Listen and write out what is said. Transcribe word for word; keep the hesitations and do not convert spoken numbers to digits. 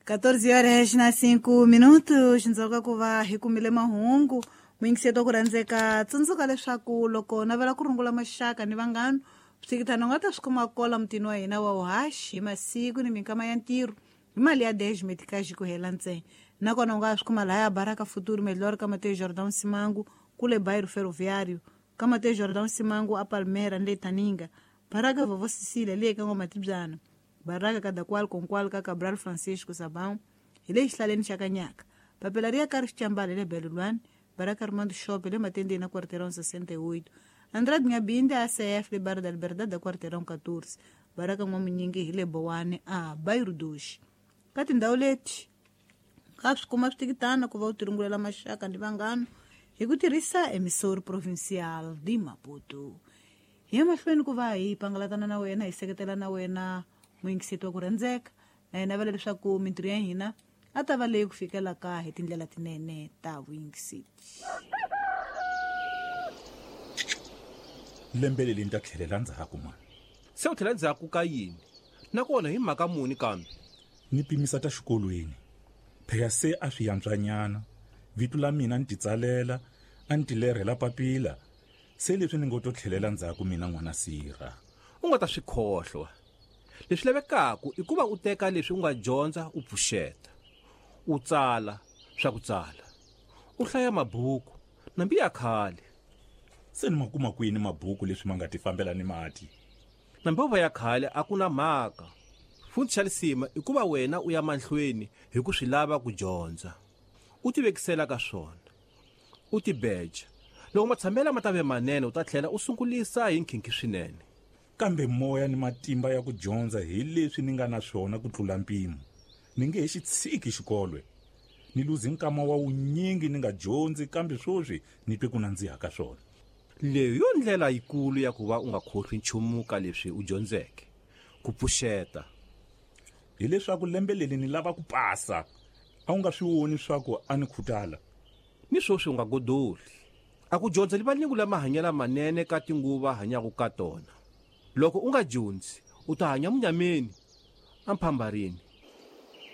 quatorze horas na cinco minutos ndzhaku ku va hi kumile mahungu muyingiseti wa ku rhandzeka tsundzuka leswaku loko navela ku rungula maxaka ni vanghana switikitana u nga ta swi kuma kola mutini wa hina wa uhaxi hi masiku ni minkama ya ntirho hi mali ya dez metikaxi ku hela ntsena nakona u nga swi kuma lahaya Baraka Futuro Melhor ka Mateus Jordão Simango kule bairro Ferroviário ka Mateus Jordão Simango a Palmeira ni le Taninga Baraka Vovó Cecília le ka N'wamatibyana Baraka Kadakwal Konkwal ka Cabral Francisco Sabão hi le xihlaleni xa Kanyaka papila ri ya ka ri Xicambala le Belulwani Baraka Armando Shop le Matendeni na Quarteirão sessenta e oito Andrade Ngabinde A C F le Barra da Liberdade da Quarteirão quatorze Baraka N'wamunyingi hi le Bowane a Bairro dois ka tindhawu leti ka swi kuma switikitana ku va u tirungulela maxaka ni vanghana hi ku tirhisa Emissora Provincial de Maputo hi ya mahlweni ku va hi pangalatana na wena hi seketela na wena muyingiseti wa ku rhandzeka na hi navela leswaku mintirho ya hina a ta va leyi ku fikelaka hi tindlela tinene ta vuyingiseti. Lembe leri ni ta tlhelela ndzhaku mani. Se u tlhela ndzhaku ka yini? Nakona hi mhaka muni kambe? Ni pimisa ta xikolweni. Phela se a swi yantswanyana. Vito la mina ni titsalela, a ni tilerhela papila. Se leswi ni ngo to tlhelela ndzhaku mina n'wana sirha. U nga ta swi khohlwa. Leswi lavekaka i ku va u teka leswi u nga dyondza u pfuxeta. U tsala swa ku tsala. U hlaya mabuku nambi ya khale. Se ni ma kuma kwini mabuku leswi ma nga ti fambela ni mati? Nambi va ya khale a ku na mhaka. Futhi xa lisima i ku va wena u ya mahlweni hi ku swi lava ku dyondza. U tivekisela ka swona. U tibeja. Loko matshamela ma ta ve manene u ta tlhela u sungulisa hi nkhinkhi swinene. Kambe moya ni matimba ya ku dyondza hi leswi ni nga na swona ku tlula mpimo. Ni nge he xi tshiki xikolwe. Ni luzi nkama wa wunyingi ni nga dyondzi kambe swoswi ni twe ku nandziha ka swona. Leyi yo ndlela yikulu ya ku va u nga khohlwi nchumu ka leswi u dyondzeke. Ku pfuxeta. Hileswaku lembe leri ni lava ku pasa. A wu nga swi voni swa ku a ni khutala. Ni swoswi u nga godoli. A ku dyondza livalingu la mahanyelo manene ka tinguva hanyaka ka tona. Loko u nga dyondzi, u ta hanya munyameni, amphambarini.